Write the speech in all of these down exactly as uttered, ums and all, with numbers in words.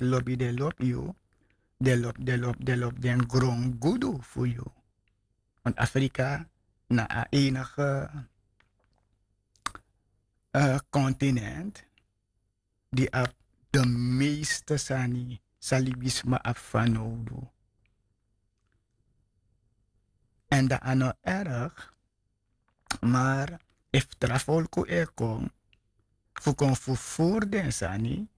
lobi den lobi yu, den lobi den lobi den lobi den grongudu fu yu. Want Afrika na a enige continent di abi de meeste sani san libisma abi fanowdu. En dat a no erg, maar efu tra folku e kon fu kon fufuru den sani,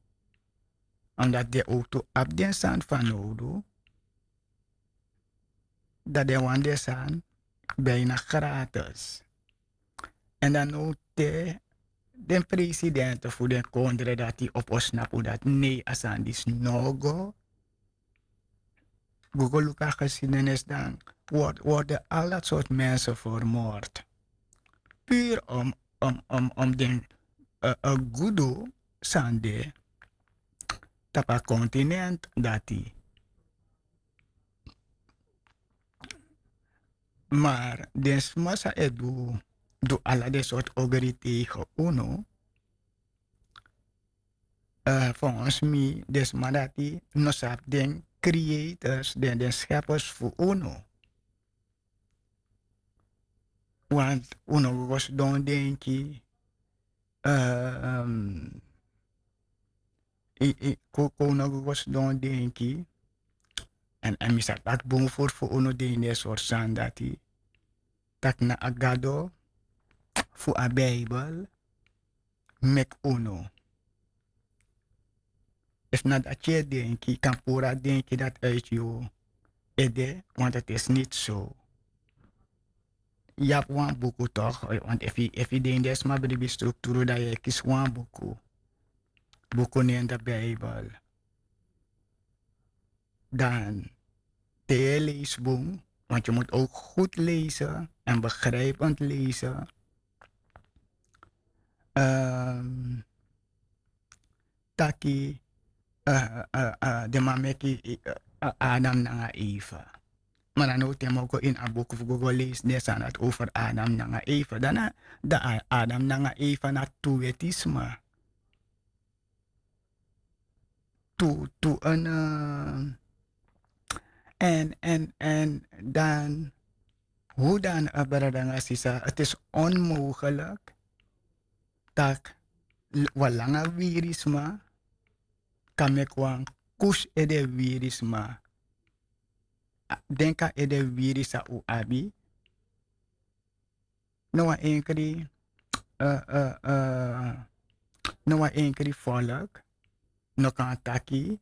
omdat den owtu abi den sani fanowdu, dat den wani den sani bijna gratis. En dan now te den presidente fu den kondre dati opo snapu dati nei, a sani disi no go. Go go luku a geschiedenis, dan worden al dat soort mensen vermoord. Puur om om om om den gudu san de tapu a continent dati. Maar den sma san e du du ala den soort ogri tegen unu, volgens mi den sma dati no sabi den creators, den den scheppers fu unu. Want unu go go sidon denki, koko unu go go sidon denki. En mi sa taki bun furu fu unu den ini den sort sani dati, taki na a gado fu a bijbel meki unu. Efu na dati yu e denki, yu kan puru a denki dati uiti yu ede, want dati is niti so. Yu abi wan buku tok, want efu yu de ini den sma bribi strukturu dan yu e kisi wan buku. Buku nen de bijbel. Dan te yu e leisi bun, want yu mus ook goed leisi en begrijpend leisi, taki den man meki adam nanga eva. Ma dan no ten moko ini a buku fu go go leisi den sani dati over adam nanga eva, dan na dan adam nanga eva na tu weti sma. Tu tu en en en en dan, hoe dan a brada nanga sisa, het is onmogelijk tak' wan langa wiri sma kan meki wan kusi ede wiri sma. Denki a ede wiri san un abi. No wan enkri no wan enkri volk no kan taki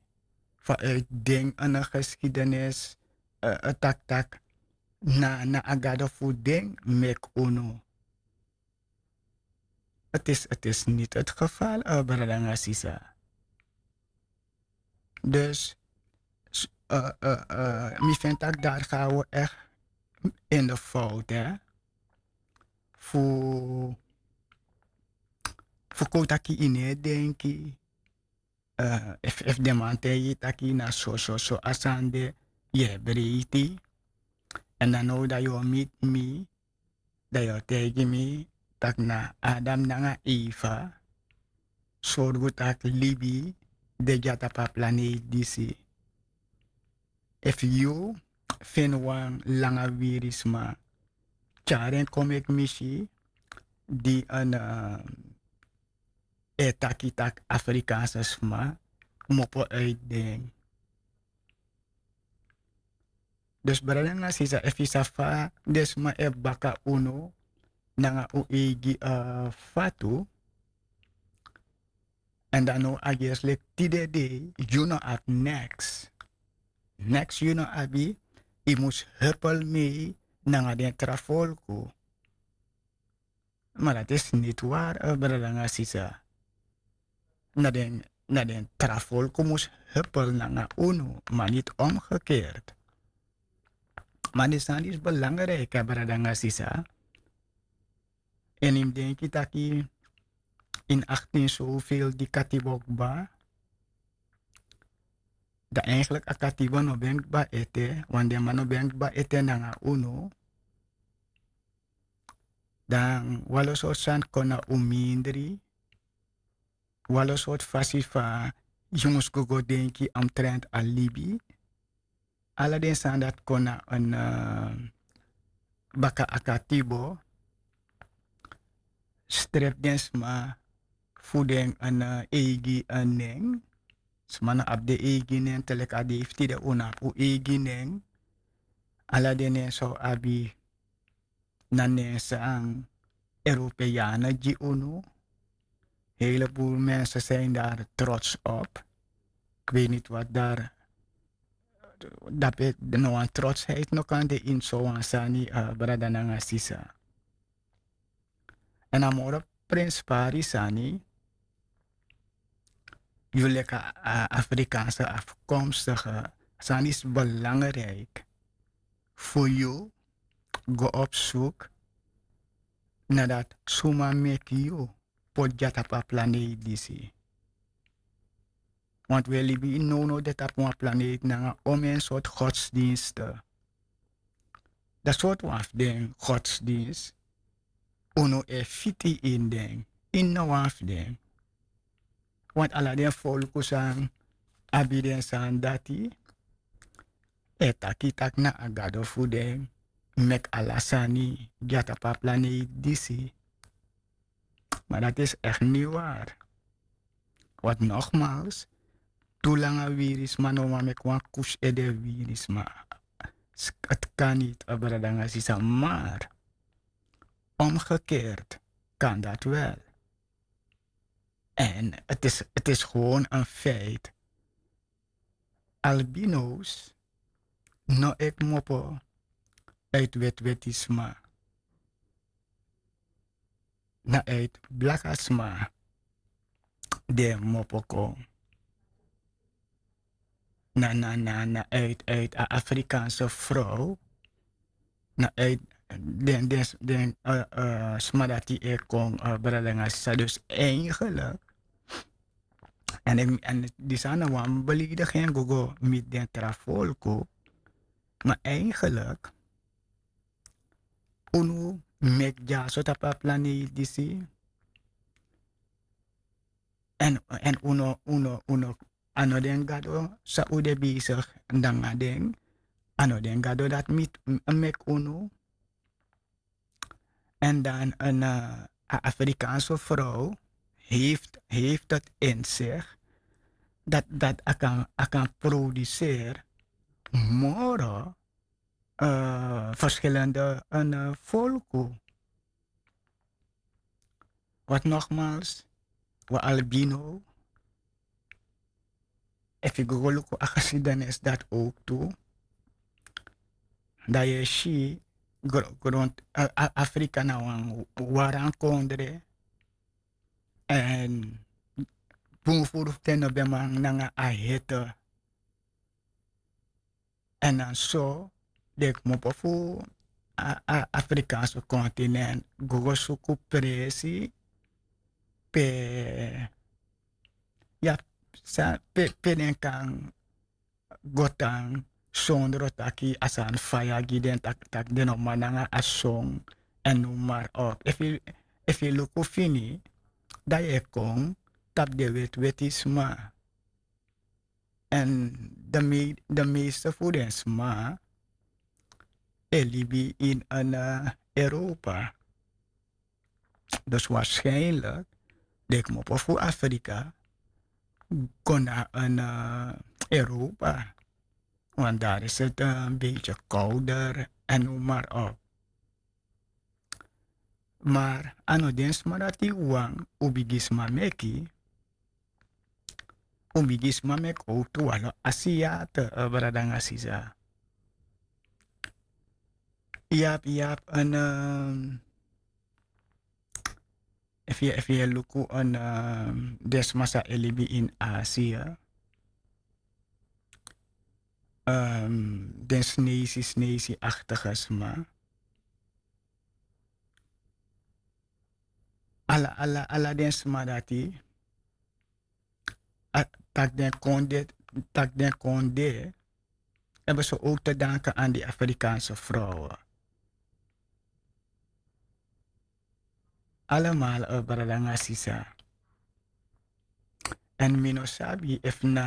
fa uit den en geschiedenis, tak' tak' na na a gado fu den meki unu. Het is het is niti het geval, brada nanga sisa. Dus mi vind tak' dari ga wi echt in de fout, hè. Fu fu kon taki yu no e denki, efu den man taigi yu taki na so so so a sani de, yu e breiti. Èn dan now dan yu o miti mi, dan yu o taigi mi tak' na adam nanga eva sorgu tak' libi de dya tapu a planeiti disi. Efu yu feni wan langa wiri sma, tyari en kon meki mi si di en e taki tak' afrikaanse sma kmopo uiti den. Dus brada nanga sisa, efu yu sa fa den sma e baka unu nanga un eigi fatu, èn dan now a gersi leki tide dei yu no abi neks. Neks yu no abi. Yu mus hupel mei nanga den tra folku. Ma dati is niti wari, brada nanga sisa. Na den na den tra folku mus hupel nanga unu, ma niti omgekeerd. Ma den sani disi belangriki, brada nanga sisa. Èn yu mus denki taki ini aktin sowfel di katibo kba, dan eigenlik a katibo no ben kba ete, want den man no ben kba ete nanga unu. Dan walo sortu sani kon na un mindri. Walo sortu fasi fa yu mus go go denki omtrent a libi. Ala den sani dati kon na en, baka akatibo strepi den sma fu den en eigi en nen. Sma no abi den eigi nen te leki a dei fu tide un no abi un eigi nen. Ala den nen san un abi na nen san europeanen gi unu. Hele buru mensen zijn daar trots op. Ik weet niet wat daar dape no wan trotsheid no kan de in so wan sani, brada nanga sisa. En a moro prinspari sani yu leki a afrikaanse afkomstige sani is belangrijk fu yu go op zoek nadat suma meki yu poti gi a tapu a planeet disi. Want wi e libi ini nownow de tapu wan planeet nanga omen sortu godsdienste. Dan sortu wan fu den godsdienst unu e fiti ini den, ini no wan fu den. Want ala den folku san abi den sani dati e taki taki na a gado fu den meki ala sani gi a tapu a planeet disi. Maar dat is echt niet waar. Want nogmaals, tu langa wirisma no wan meki wan kus ede wirisma. Het kan niet, brada nanga sisa, maar omgekeerd kan dat wel. En het is, het is gewoon een feit. Albino's no e kmopo uit wetwetisma. Na uit blakasma den mopo kon. Na na na na uit uit a afrikaanse vrouw. Na uit den den den sma dati e kon, brada nanga sisa, dus eigenlijk en disi a na wan belediging go go miti den tra folku. Maar eigenlijk unu meki dyaso tapu a planeet disi. En unu unu unu a no den gado san un de besigi nanga den. A no den gado dati miti meki unu. En dan en a afrikaanse vrouw heeft heeft het in zich dat dat a kan a kan produceer moro verschillende en folku. Wat nogmaals, we albino, efu yu go go luku a geschiedenis dati ook tu, dan yu e si grond afrika na wan waran kondre. En bun furu fu den no ben man nanga a hete. En dan so den kmopo fu a afrikaanse kontinent go go suku presi pe ya pe den kan go tan sondro taki a sani faya gi den taki den no man nanga a song. En nu mar op efu yu luku fini dan yu e kon tapu den wetiweti sma. En de meeste fu den sma e libi ini en europa. Dus waarschijnlijk den kmopo fu afrika kon na en europa. Want daar is het een beetje kouder en nu maar op. Maar a no den sma dati wang ubigisma meki. Ubigisma meki owtu walo asiate brada nanga sisa. Yap yap en efu yu e luku en den sma sa e libi ini asia. Den sneisi sneisi aktige sma. Ala ala ala den sma dati taki den kon de taki den kon de. Ebe so ook te danken aan die afrikaanse vrouwen. Allemaal brada nanga sisa. Èn mi no sabi efu na